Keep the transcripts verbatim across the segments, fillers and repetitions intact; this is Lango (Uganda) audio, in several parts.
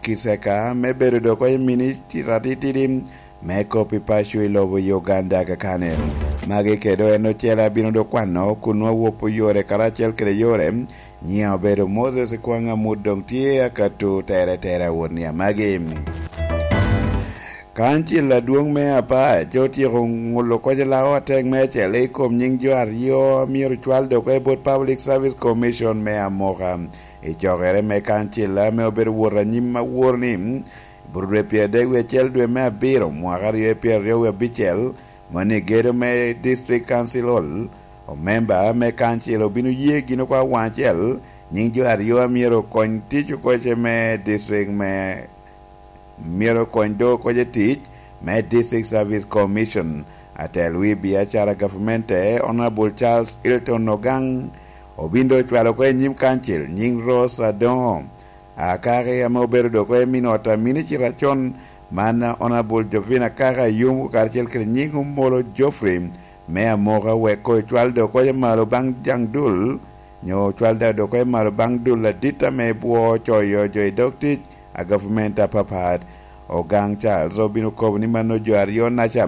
Kiseka me bedo dok oye minicita titidi me kop i paco i lobo Uganda kakane. Magi kede en ocele abino dok kwano kun nwa wopo yore karacel kede yore. Nyiŋa obedo Moses Kwaŋ Amut, doŋ tye akato tere tere awot ni amagi. Kancil adwoŋ me Apac otyeko ŋulo koc lawo atek me acel i kom nyiŋ jo aryo a myero cwal dok i bot Public Service Commission me Amoka. I cokere me kancil ame obedo wot anyim awor ni, Burudwe pyeradek wie acel dwe me abiro mwaka aryo pyeradek wie abicel, moni gedo me District Council Hall, omemba me kancil obino ye gin okwa waŋ acel nyiŋ jo aryo a myero okony tic okoce me district me myero okony do okoce tic me District Service Commission. Atel wi biacara gavamente, Honorable Charles Hilton Ogang, obin do ocwalo ko i nyim kancil nyiŋ Rose Adongo Akaki ame obedo dok oye min ot a minicita con, man Honorable Jovina Kaka Ayum karacel kede nyiŋ Omolo Geoffrey me Amoka wek ko ecwal dok oye malo baŋ jaŋ dul, nyo ocwal da dok oye malo baŋ dul adit ame bwo coyo jo i dog tic a gavumenti apapat. Ogang Charles obino kobo ni mano jo aryo naca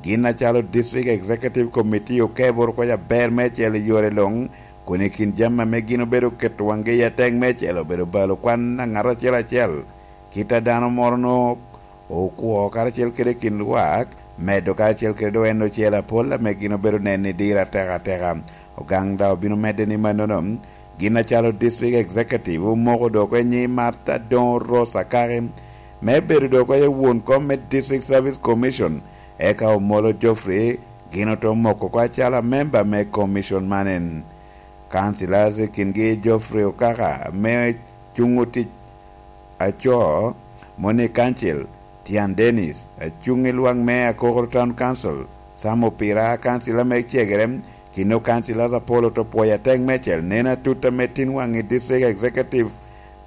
gin acalo District Executive Committee okeboro kwo aber meicel i yore luŋ, kun i kin jami ame gin obedo keto waŋgi i atek meicel obedo balo kwan a ŋat acel acel, kit a dano moro nwoŋo okwo karacel kede kin lwak, medo karacel kede dok en ocel apol ame gin obedo neno i diro ateka ateka. Ogang daŋ obino medde ni mannono, gin acalo District Executive omoko dok enyi Martha Doŋ Ross Akaki me bedo dok oye won kom me District Service Commission, eka Omolo Geoffrey gin oto moko oko acalo amemba me commission man en. Councillors i kingi Geoffrey Okaka me cuŋ otic aco, Moni Council, Tian Dennis, acuŋ i lwak me Akokoro Town Council, Sam Opira, councillor me cegere, kino councillors apol oto pwoyo atek meicel neno atut ame tin waŋ i District Executive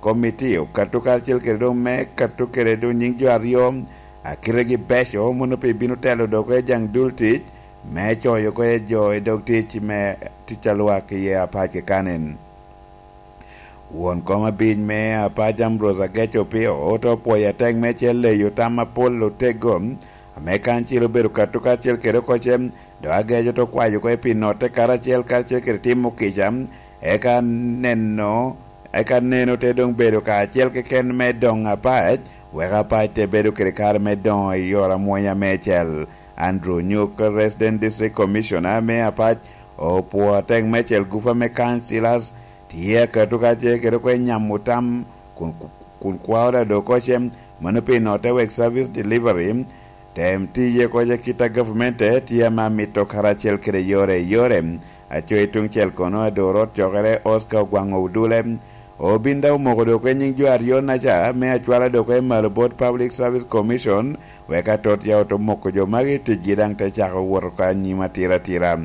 Committee okato karacel kede doŋ me kato kede doŋ nyiŋ jo aryo a kitegi beco mono pi bino telo dok i jaŋ dul tic me coyo oko i jo i dog tic me tic a lwak iye apac kekanen. Won kom abic me apac Ambrose Agec Opio oto pwoyo atek me cel leyo tam apol otego ame kancil obedo kato karacel kede okoce, dok Agec oto kwayo oko i pi notte karacel karacel kede timo kica, eka neno eka neno te doŋ bedo kacel keken me doŋ apac, wek apac te bedo kede kare me doŋo i yore amwonya me cel. Andrew Nyuk, Resident District Commissioner me apac, opwo atek me cel gufa me councillors tye akato kacel kede oko i nyamo tam kun, kun kwao da dok oce, mano pi notte wek service delivery, tem tiye koca kit a gavumenti tye ame amito karacel kede yore i yore. Aco i tuŋ cel kono ador ot cokere Oscar Ogwaŋ Odule, obin daŋ omoko dok i nyiŋ jo aryo naca me acwala dok i malo bot Public Service Commission, wek atot ya oto moko jo magi ticgi daŋ te cako wot oko anyim atira atira.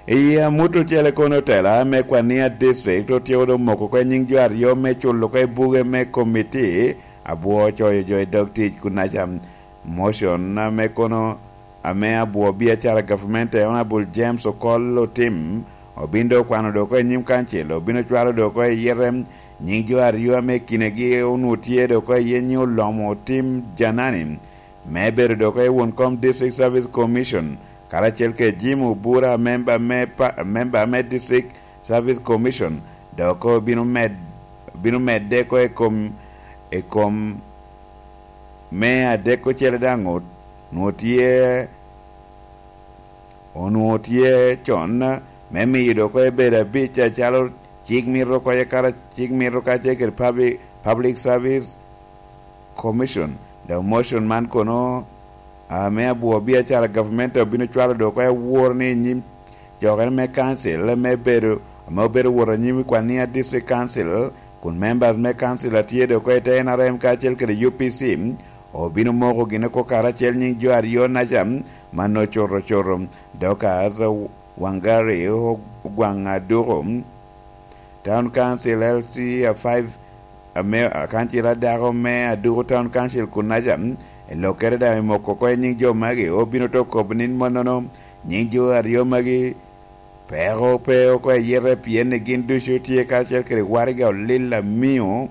I amut ocele kono otela me Kwania District otyeko doŋ moko oko i nyiŋ jo aryo me culo oko i buge me komiti abwo coyo jo i dog tic kunaca. Motion ame kono ame abwo biacara gavumenti Honorable James Okol Otim obin doŋ okwano doŋ oko i nyim kancil, obin ocwalo doŋ oko i yite nyiŋ jo aryo ame kinegi onwoŋo tye doŋ oko iye nyiŋ Olomo Otim Janani, me bedo dok i won kom District Service Commission, karacel kede Jim Obura, memba me pa-, memba me District Service Commission, dok obino med-, bino medde oko i kom, i kom me adek ocele daŋ ot-, onwoŋo tye, onwoŋo tye con me miyo dok oko ebedo abic acalo cik mito oko, kara cik mito kacel kede Public, Public Service Commission. Dok motion man kono ame abwo biacara gavumenti obino cwalo dok oko awor ni i nyim cokere me council me bedo, ame obedo wot anyim i Kwania District Council, kun members me council a tye dok oko i te N R M kacel kede U P C, obino moko gin oko karacel nyiŋ jo aryo naca, man ocoto ocoto. Dorcas Wangari Ogwaŋ Aduko, Town Council L C a five, ame, kancil adako me Aduku Town Council kunaca, i lokere daŋ i moko oko i nyiŋ jo magi, obino to kobo ni mannono, nyiŋ jo aryo magi, peko pe oko i yite, pien ni gin ducu tye karacel kede waraga olil amiŋo,